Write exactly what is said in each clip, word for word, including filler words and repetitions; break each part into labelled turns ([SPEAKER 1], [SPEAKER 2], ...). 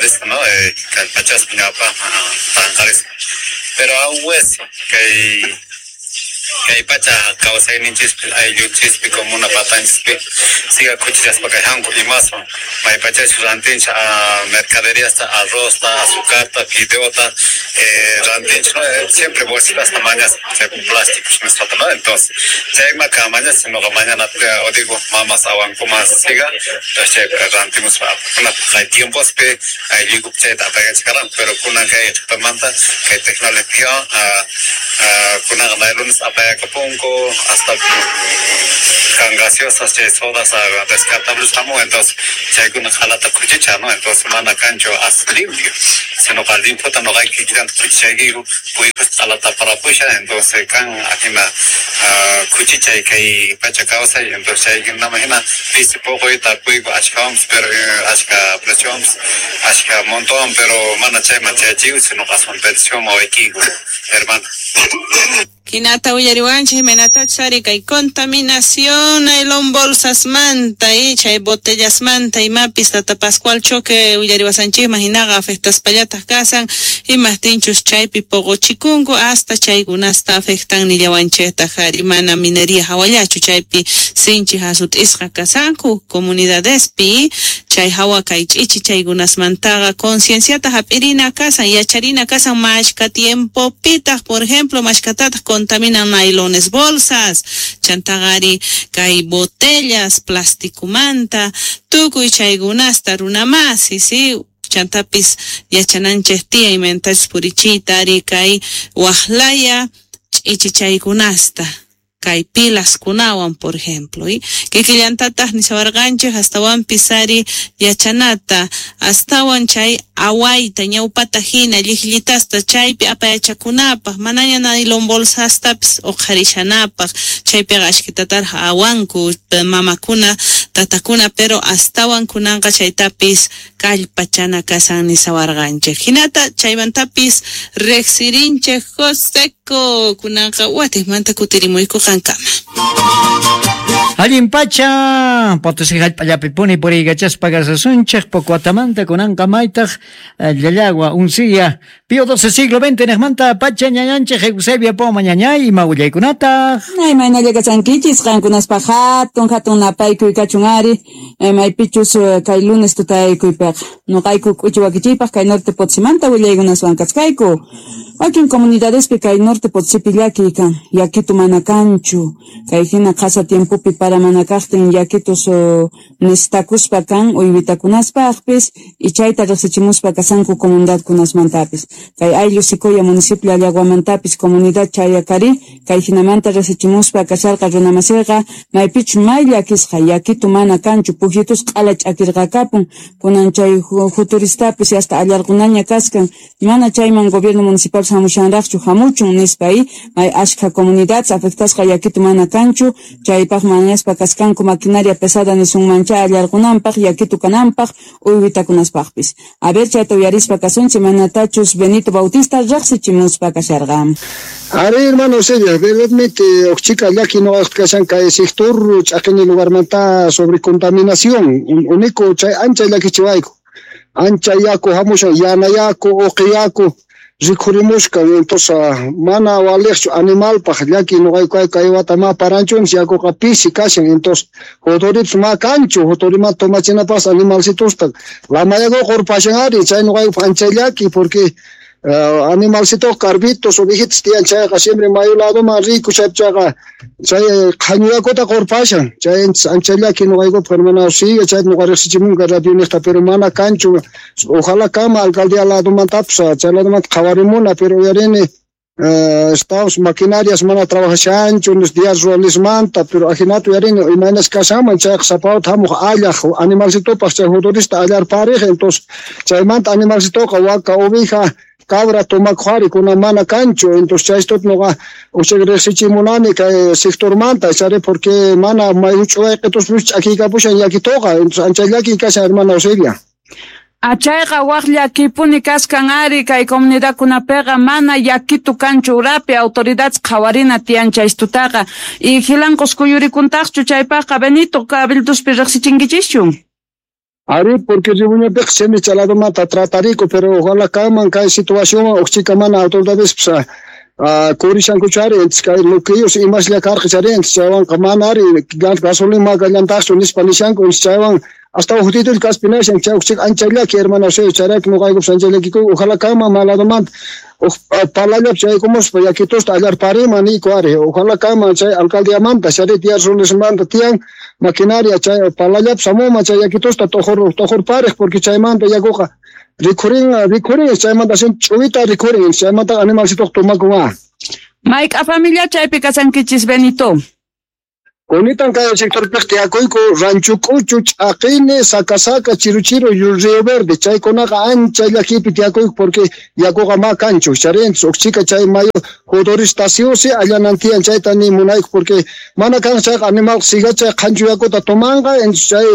[SPEAKER 1] Tanqarisqa, no, eh, kallpachaspa ñawpaqman tanqarisqa. Pero aún wesi kay kay pacha kawsayninchispi ayllunchispi comuna patanchispi siga khuchichaspa kay hanku imaswan maypachachus rantinchik mercaderiasta arrozta azucarta fideota eh, rantinchik, no, siempre bolsitasta mañaspa chay plásticos nisqata, no, entonces chayma mañas noqa mañana o digo mamas awankuman siga, entonces chaypi rantimuspa kay tiempospi aylluykupi chayta apaykachikarqanku, pero kunan kay qhipamanta kay tecnología kunaqa naylones apayakapunku hasta kan gaseosas chay sodas descartables hamun, entonces chaykuna qhalata khuchicha, no, entonces mana kanchu as limpio, sino qa limpiota noqayku kikillanta khuchichaykiku puykus qhalata parapusha, entonces kan ajina khuchichay kay pacha kawsay, entonces chaykunama hina pisi puquy tarpuyku ashkawanpis, pero ashka preciowanpis ashka montowan, pero mana chayman chayachiyku, sino aswan petición wawaykiku, hermana.
[SPEAKER 2] Hinata uyariwanchik imaynatachus ari kay contaminación nylon bolsasmanta y chay botellasmanta imapis tata Pascual Choque uyariwasanchikman hinaqa afectaspallataq kasan imaqtinchus chaypi poqochikunku hasta chaykunasta afectan nillawanchiktaq ari mana minería hawallachu chaypi sinchi hasut'isqa kasanku comunidadespi chay hawa kay ch'ichi chaykunasmantaqa concienciata hap'irina kasan yacharina kasan mashka tiempopitaq por ejemplo mashkatataq contaminan nailones bolsas, chantaqari kay botellas plasticumanta, tukuy chaykunasta runamasi, si chantapis yachananchik tiyan imaynatachus purichiyta ari kay waqlaya ch'ichi chaykunasta kay pilaskunawan por ejemplo, y kikillantataq nishawarqanchik astawanpis ari yachanata astawan chay awayta ñawpata hina llikllitasta chaypi apayachakunapaq manaña nylon bolsastapis uqharishanapaq chaypiqa ashkitataraq awanku mamakuna tatakuna pero astawan kunanqa chaytapis kallpachana kasan nishawarqanchik hinata chaymantapis riqsirinchik Joseco kunanqa watiqmanta kutirimuyku qankama.
[SPEAKER 3] Allin pacha, Potosí jallp'allapi puni puriykachaspa kasasunchik poco atamanta kunanqa maytaq Llallagua unsilla Pío doce siglo veinte niqmanta pacha ñañanchik Eusebia Poma ñañay ima willaykunataq.
[SPEAKER 4] Ay maynalla kachankichis qankunaspaq hatun hatun napaykuy kachun ari maypichus kay lunes tutaykuypiqa nuqayku k'uchi wakichiypaq kay norte Potosimanta willaykunaswan kachkayku wakin comunidadespi kay norte Potosipi llakiy kan yakitu mana kanchu kay hina qhasa tiempopi para mana kaqtin yakitus necesitakuspa kan uywitakunaspaqpis y chayta riqsichimuspa kasanku comunidadkunasmantapis kay ayllu Sicoya municipio Llallaguamantapis comunidad Chayacari kay hinamanta riqsichimuspa kasharqa runamasiyqa maypichu may llakisqa yakitu mana kanchu pukyitus q'ala ch'akirqakapun kunan chay futuristapis hasta allarqunaña kaskan mana chayman gobierno municipal hamushanraqchu hamuchun nispa y may ashkha comunidades afectasqa yakitu mana kanchu chaypaq mañaspa kaskanku maquinaria pesada nisunmancha allarqunanpaq yakitu kananpaq uywitakunaspaqpis a ver chayta uyarispa kasunchik manatachus Benito Bautista riqsichimuspa kasharqa.
[SPEAKER 5] Ari hermano Celia, verdaderamente chica llaki no kashan kay sector ch'aqini lugarmanta sobre contaminación único chay ancha llakichiwayku ancha yaku hamushan yana yaku uqi yaku rikhurimushka entonces mana waliqchu animalpaq llaki nuqayku kay wata ma paranchunchik yakuqa pisi kashan entonces juturipis ma kanchu juturimanta tomachinapas animalcitusta lamayakuqa qurpashan ari chay nuqaykupaq ancha llaki porque Uh, animalcito carbitos ovejitas tiyan chayqa siempre mayu ladoman riku chaypichaqa chay qhañu yakuta qurpashan chay ancha llaki nuqaykupaq hermana sigue chay nuqa riqsichimunqa radio niqta pero mana kanchu ojalá kama alcaldía ladomantapis chay ladomanta qhawarimuna pero uyarini Uh, estamos maquinarias mana trabajashanchu los días ruralismanta pero ajinata uyarini imaynas kashanman chayqa sapawta hamuq allaq animalcitopaq chay juturista allarpariq entonces chaymanta animalcitoqa waka oveja cabra tomakuq ari kunan mana kanchu entonces chaystuta nuqa uchik riqsichimunani kay sectormanta chari porque mana may huch'uwayqituspis ch'akiykapushan llakituqa entonces ancha llaki kashan hermana Auxilia.
[SPEAKER 4] Achayqa waq llakipuni kaskan ari kay comunidadkunapiqa mana yakitu kanchu urapi autoridades qhawarina tiyan chaystutaqa y jilanqus kuyurikuntaqchu chaypaqqa Benito cabildospi riqsichinkichischu.
[SPEAKER 5] Ari, porque Ribuñapiqa semicha ladomanta tratariku, pero ojalá kanman kay situación uqchika mana autoridades pues, uh, kurishankuchu ari, entonces kay bloqueos imaslla karqa chari, entonces chaywanqa mana ari gasolina makallantaqchu nispa nishanku, entonces chaywan hasta ujtitul kaspinashan chay uqchika ancha llaki hermano Eusebio, chayrayku noqaykupas ancha llakiku, ojalá kanman maladomanta uj palallap chaykumuspa yakitusta allarparima niyku ari, ojalá kanman chay alcaldiamanta chari tiyar Rollesmanta tiyan maquinaria chay palallap samuma chay yakitusta tojor tojorparej porque chaymanta yakuqa rikhurin rikhurin chaymanta sin ch'uwita rikhurin chaymanta animalcitoq tomakun.
[SPEAKER 4] Mayk'a familia chaypi kasankichis Benito?
[SPEAKER 5] Kunitan kay sectorpiq tiyakuyku Rancho K'uchu, Ch'aqini, Saca Saca, Chiru Chiru, Río Verde, chaykunaqa ancha llakipi tiyakuyku porque yakuqa ma kanchu, charinchis uqchika chay mayu jodoristaciusi allanan tiyan chayta ni munayku porque mana kan chayqa animal siga chay qhanchu yakuta tomanqa, entonces chay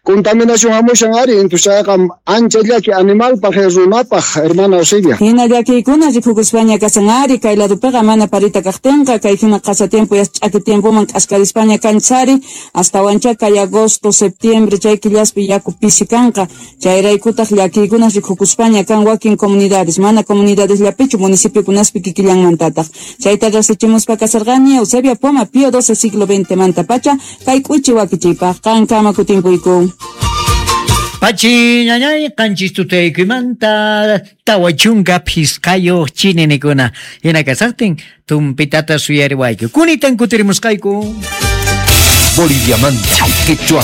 [SPEAKER 5] contaminación hamushan ari, entonces chayqa ancha llaki animalpaq runapaq hermana Eusebia.
[SPEAKER 4] Hina llakiykuna rikukuspaña kasan ari, kay ladopiqa mana parita kaqtinqa, kay hina qasa tiempo ch'aki tiempoman k'askarispaña kanchari, hasta wancha kay agosto, septiembre, chay killaspi yaku pisi kanqa, chayraykutaq llakiykuna rikukuspaña kan wakin comunidades, mana comunidades llapichu municipiokunaspi kikillanmantataq. Chayta riqsichimuspa kasarqani Eusebia Poma, Pío doce siglo veinte manta pacha, kay k'uchi wakichiypaq qankama kutimpuyku.
[SPEAKER 3] Pachi ñañay qanchis tutaykuymanta tawa chunka phisqayuq chininikuna hina kasaqtin tumpitata suyariwayku kunitan kutirimusqayku.
[SPEAKER 6] Boliviamanta, Quechua,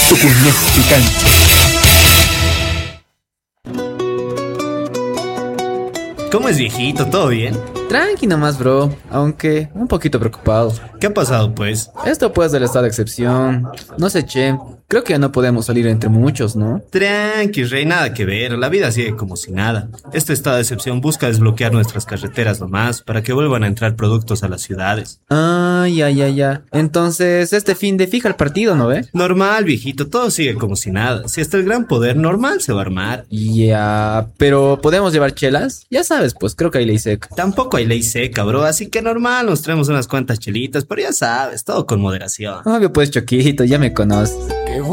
[SPEAKER 6] Tucuñespi cancha.
[SPEAKER 7] ¿Cómo es, viejito? ¿Todo bien?
[SPEAKER 8] Tranqui nomás, bro, aunque un poquito preocupado.
[SPEAKER 7] ¿Qué ha pasado, pues?
[SPEAKER 8] Esto pues del estado de excepción. No sé, che, creo que ya no podemos salir entre muchos, ¿no?
[SPEAKER 7] Tranqui, rey, nada que ver. La vida sigue como si nada. Este estado de excepción busca desbloquear nuestras carreteras nomás para que vuelvan a entrar productos a las ciudades.
[SPEAKER 8] Ah, ya, ya, ya. Entonces, este fin de fija el partido, ¿no ve?
[SPEAKER 7] Normal, viejito, todo sigue como si nada. Si hasta el gran poder normal se va a armar.
[SPEAKER 8] Ya, pero ¿podemos llevar chelas? Ya sabes, pues creo que hay ley seca.
[SPEAKER 7] Tampoco hay ley seca, bro, así que normal, nos traemos unas cuantas chelitas, pero ya sabes, todo con moderación.
[SPEAKER 8] Obvio pues, Choquito, ya me conoces.
[SPEAKER 6] Qué bueno.